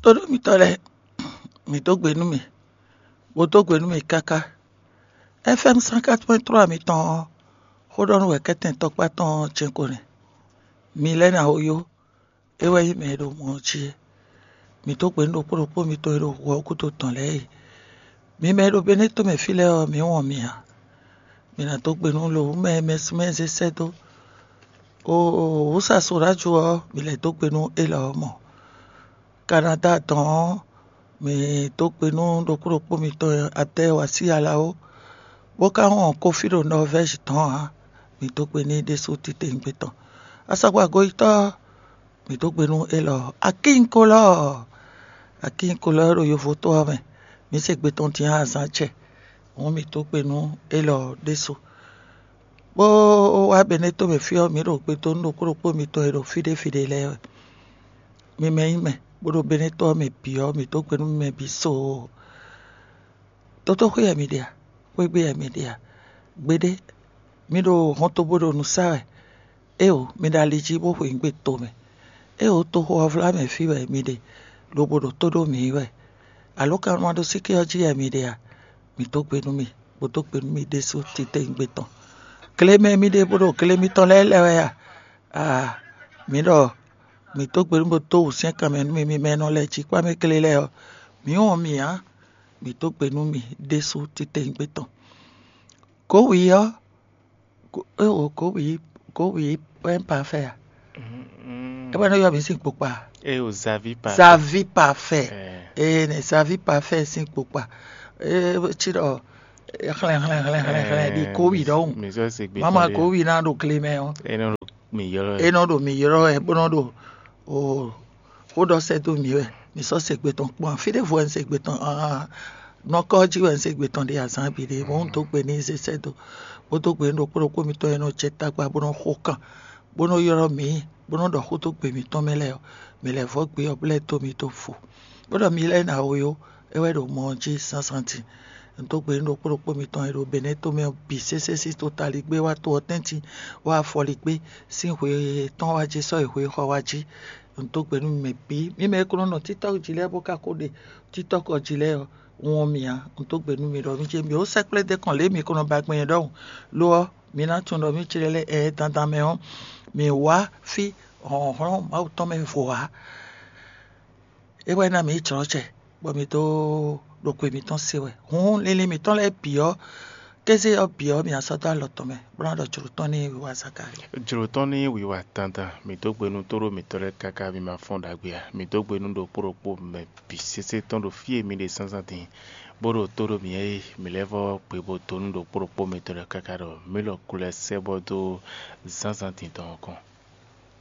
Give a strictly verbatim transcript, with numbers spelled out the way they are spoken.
Tóɖó mitɔ́ lɛ́ɛ, mǐ dó gbe nú mì, bó dó gbe nú mì káká. F M cent quatre point trois mitɔn ɔ́, xó ɖɔ nú wɛ kɛ́tɛn tɔkpá tɔn ɔ́ jɛ́n ko nɛ́. Mi lɛ́ɛ ná ó yó, é wɛ nyí mɛ e ɖo mɔ ɔ́ jí é. Mǐ dó gbe nú ɖokpó ɖokpó mitɔn e ɖo hu ɔ́ gúdo tɔn lɛ́ɛ e. Mi mɛ e ɖo Benɛ́to mɛ fí lɛ́ɛ ɔ́, mǐ wɔn mi ǎ. Mi ná dó gbe nú lo wǔ mɛ e mɛ súnmɛ zé sɛ́ dó. Oo, wǔ sa so ɖó ajo ɔ́, mi lɛ́ dó gbe nú élɔ́ ɔ́ mɔ. Kanada tɔn ɔ́, mǐ dó gbe nú ɖokpó ɖokpó mitɔn e adɛ́ wa sí ala ó, bó ka wɔn kófí ɖo Nɔvɛ́zi tɔn ǎ. Mǐ dó gbe n'i ɖésú titewungbe tɔn. Asɔkpa goyítɔ́, mǐ dó gbe nú élɔ́ Akínkolɔ́ɔ. Akínkolɔ́ e ɖo yovo tó ɔ́ mɛ, mǐ se gbe tɔn din azǎn acɛ. Hǔn mǐ dó gbe nú élɔ́ ɖésú. Bó wá Benɛ́to mɛ fí ɔ́, mǐ ɖo gbe dó nú ɖokpó ɖokpó mitɔn e ɖo fí ɖé fí ɖé lɛ́ɛ wɛ. Mi mɛ nyí mɛ, bó ɖo Benɛ́to ɔ́ mɛ bǐ ɔ́, mǐ dó gbe nú mi mɛ bǐ soo. Tótóxwé wɛ mi ɖe a? Xwégbé wɛ mi ɖe a? Gbeɖé, mi ɖo hɔntogbó ɖo nǔ sa wɛ. Éeǒ, mi ɖo ali jí bó xweyǐgbe tomɛ. Éeǒ, toxo ɔ́ vlá mɛ fí wɛ mi ɖe, lobo ɖo tó ɖó mǐ wɛ. Alǒkanmaɖósíké ɔ́ jí wɛ mi ɖe a? Mǐ dó gbe nú mi, bó dó gbe nú mi ɖésú titewungbe tɔn. Gle mɛ mi ɖe bó ɖo gle mitɔn lɛ́ɛ lɛ wɛ a? Aa, mǐ ɖɔ mǐ dó gbe nú bó dó wǔsyɛ́nkan mɛ nú mi, mi mɛ e nɔ lɛ jí kpá mɛ gle lɛ́ɛ ɔ́, mǐ wɔn mi ǎ. Mǐ dó gbe nú mi ɖésú titewungbe tɔn. Gǒwi ɔ́, éeǒ, gǒwi, gǒwi wɛ nyí pafɛ a? É wɛ nɔ ylɔ́ mǐ sín kpokpa. Eo zavi pa. Zavi pafɛ. Ee, ne zavi pafɛ sín kpokpa. Ee, ci ɖɔ xlɛn xlɛn xlɛn xlɛn xlɛn ɖi gǒwi ɖɔhun. Mi sɔ se gbe Mama tɔn ɖe. Gǒwi ná ɖo gle mɛ ɔ́. Eno mi yɔlɔ. E nɔ ɖo mi ylɔ́ wɛ bó nɔ ɖo o xó ɖɔ sɛ́ dó mǐ wɛ. Mi sɔ́ se gbe tɔn kpɔ́n, fí ɖěvo wɛ un se gbe tɔn aa nɔkɔ jí wɛ un se gbe tɔn ɖe azǎn bǐ ɖe, bó un dó gbe n'i zé sɛ́ dó, bó dó gbe nú ɖokpó ɖokpó mitɔn e nɔ jɛ tagba bó nɔ xo kan, bó nɔ ylɔ́ mǐ, bó nɔ ɖɔ xó dó gbe mǐtɔn mɛ lɛ́ɛ ɔ́, mǐ lɛ́ vɔ́ gbe ɔ́ bó lɛ́ dó mi dó vo. Bó ɖɔ mi lɛ́ɛ ná we ó, é wɛ ɖo mɔ ɔ́ jí zǎnzǎn din. Un dó gbe nú ɖokpó ɖokpó mitɔn e ɖo Benɛ́to mɛ ɔ́ bǐ sésé sín totaligbé wá to ɔ́ tɛ́ntin, wá afɔligbé sín hwe tɔn wá jí sɔ́ yi hwe xɔ wá jí. Un dó gbe nú mi mɛ bǐ, mi mɛ e ko nɔ nɔ TikTɔk jí lɛ́ɛ bó ka ko ɖe TikTɔk ɔ́ jí lɛ́ɛ ɔ́, un wɔn mi ǎ. Un dó gbe nú mi ɖɔ mi ce mi ó sɛkplé dó kɔn lě mi ko nɔ ba gbɛn nyɛ ɖɔhun. Lo ɔ́, mi ná tunwun ɖɔ mǐ clé lɛ́ɛ ɛ dandan mɛ ɔ́, mǐ wá fí hlɔ̌nhlɔ́n Mawu tɔn mɛ vo ǎ. É wɛ ná mǐ yi jlɔ̌ jɛ, bɔ mǐ dó ɖo xwe mǐtɔn se wɛ. Hǔn linlin mǐtɔn lɛ́ɛ bǐ ɔ́, kéze ɔ́ bǐ ɔ́, mǐ ná sɔ́ dó alɔ tɔn mɛ, bó ná ɖɔ jlǒ tɔn n'i wiwa Zakalíi. Jlǒ tɔn ní wiwa dandan, mǐ dó gbe nú tóɖó mǐtɔn lɛ́ɛ káká mǐ ma fɔ́n ɖagbe ǎ. Mǐ dó gbe nú ɖokpó ɖokpó mɛ bǐ sésé tɔn ɖo fí e mi ɖe zǎnzǎn din, bó ɖo tó ɖó mǐ é mǐ lɛ́ vɔ́ gbe bó dó nú ɖokpó ɖokpó mitɔn lɛ́ɛ káká ɖɔ mǐ lɔ ku lɛ́ sɛ́ bɔ dó zǎnzǎn din tɔn ɔ́ kɔn.